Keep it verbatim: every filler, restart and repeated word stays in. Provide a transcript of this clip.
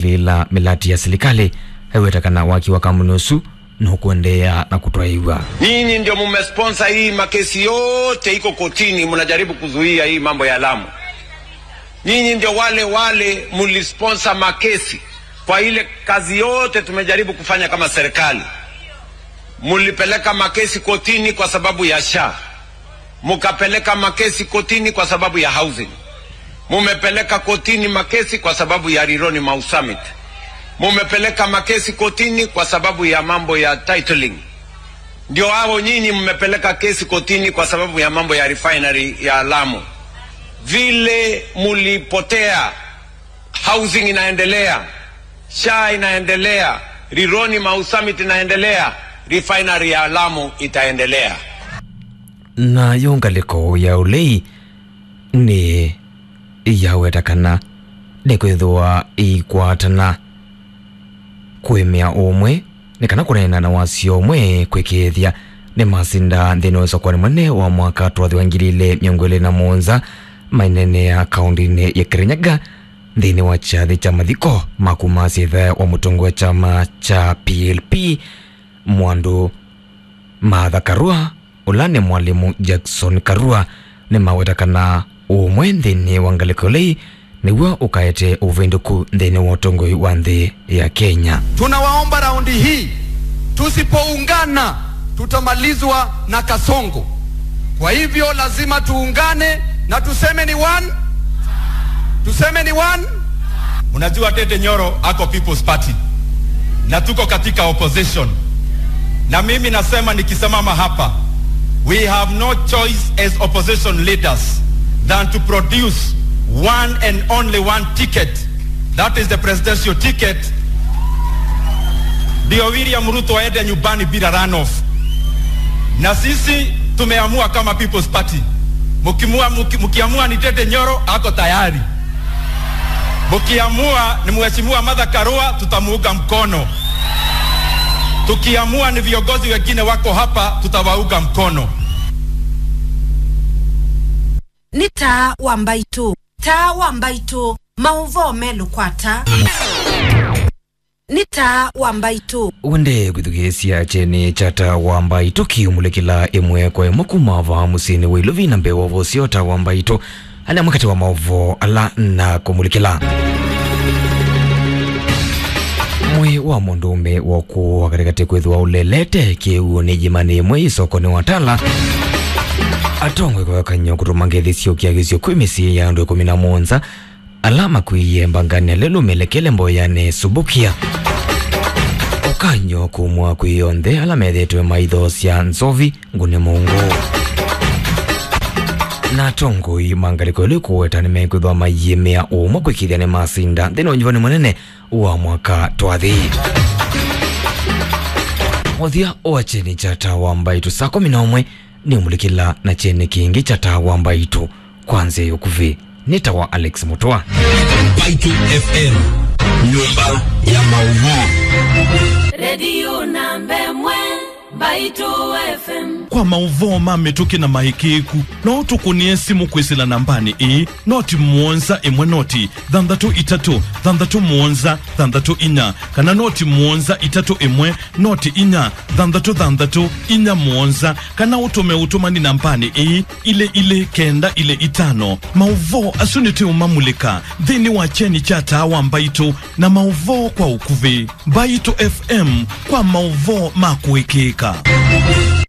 lila milati ya serikali, aiweta kana waki wa kambuni ũsu no kũendeea na kũtwaĩwa. Nyinyi ndio mumesponsor hii makesi yote iko kotini, mnajaribu kuzuia hii mambo ya Lamu. Nyinyi ndio wale wale mulisponsor makesi kwa ile kazi yote tumejaribu kufanya kama serikali. Mulipeleka makesi kotini kwa sababu ya SHA. Mukapeleka makesi kotini kwa sababu ya housing. Mumepeleka kotini makesi kwa sababu ya Rironi Mau Summit. Mumepeleka makesi kotini kwa sababu ya mambo ya titling. Ndio hao nyinyi mmepeleka kesi kotini kwa sababu ya mambo ya refinery ya Lamu. Vile mulipotea, housing inaendelea, SHA inaendelea, Rironi Mau Summit inaendelea, refinery ya Lamu itaendelea. Nayo ngalĩko ya ũlei nĩ yaweta kana nĩkwĩthĩwa ĩikwatana kũĩmĩa ũmwe, nĩ kana kũneena na wasyo ũmwe kwĩkĩĩthya nĩmasinda nthĩnĩ wa ũsakũani mũnene wa mwaka twathi wa ngili ilĩ mĩongo ĩlĩ na mũonza, maineenea kaũndĩnĩ ya Kirinyaga nthĩnĩ wa kyathĩ kya mathiko ma kũmasya ĩthe wa mũtongoi wa kyama kya P L P, Mwandũ Martha Karua, ũla nĩ mwalimũ Jackson Karua, nĩmaweta kana ũmwe nthĩnĩ wa ngalĩko ĩlei nĩw'o ũkaete ũvĩndũku nthĩnĩ wa ũtongoi wa nthĩ ya Kenya. Tunawaomba raundi hii, tusipoungana, tutamalizwa na Kasongo. Kwa hivyo lazima tuungane na tuseme ni one. Tuseme ni one. Unajua Ndindi Nyoro ako People's Party. Na tuko katika opposition. Na mimi nasema nikisimama hapa, we have no choice as opposition leaders than to produce one and only one ticket. That is the presidential ticket. Ndio William Ruto aende nyumbani bila runoff. Na sisi tumeamua kama People's Party. Mukimua, muki-, mukiamua ni Ndindi Nyoro, ako tayari. Mukiamua ni Mheshimiwa Martha Karua, tutamuunga mkono. Tukiamua ni viongozi wengine wako hapa, tutawaunga mkono. Nĩ Taa wa Mbaitũ. Taa wa Mbaitũ, maũvoo melũ kwa taa. Nĩ Taa wa Mbaitũ. Wende kwĩthukĩĩsya kyeni kya Taa wa Mbaitũ kĩũmulĩkĩla ĩmwe kwa ĩmwe kuma vaa mũsyĩnĩ wa Ilovi na mbee wa ũvosyo Taa wa Mbaitũ. Ala amwe katĩ wa maũvoo ala na kũmulĩkĩla. Mwĩĩ wa mũndũũme wa ũkũũ wa katĩkatĩ kwĩthĩwa ũlelete kĩw'ũnĩ ĩĩmanĩ ĩmwe ĩsokonĩ wa Tala. Atongoi kũvakan'ya kũtũma ngethi syũkĩa kĩsio kwĩ mĩsyĩ ya andũ ĩkũmi na mũonza ala makw'ĩĩe mbanganĩ ya lelũ melekele mboyanĩ Subukia. Ũkany'o kumwa kwĩ onthe ala methĩĩtwe maithoosya nzovi ngũnĩ mũngũ. Na atongoi ma ngalĩko ĩlĩ kũweta nĩmekwĩthwa maiĩmĩa ũmwe kwĩkĩĩthya nĩmasinda nthĩnĩ wa ũnyuvani mũnene wa mwaka twathi. Mũthya wa kyeni kya Taa wa Mbaitũ saa kũmi na ũmwe nĩũmulĩkĩla na kyeni kĩngĩ kya Taa wa Mbaitũ kwa nzĩa ya ũkuvĩ. Nĩ ta wa Alex Mũtũa. Mbaitũ F M, nyũmba ya maũvoo. Redio namba ĩmwe, Mbaitũ F M. Kwa maũvoo ma mĩtũkĩ na maĩkĩĩku, no ũtũkũnĩe simũ kwĩsĩla nambanĩ ĩĩ, noti mũonza ĩmwe noti thanthatũ itatũ thanthatũ mũonza thanthatũ inya, kana noti mũonza itatũ ĩmwe noti inya thanthatũ thanthatũ inya mũonza, kana ũtũme ũtũmani nambanĩ ĩĩ, ilĩ ilĩ kenda ilĩ itano. Maũvoo asu nĩtũũmamulĩka nthĩnĩ wa kyeni kya Taa wa Mbaitũ na maũvoo kwa ũkuvĩ. Mbaitũ F M kwa maũvoo ma kũĩkĩĩka.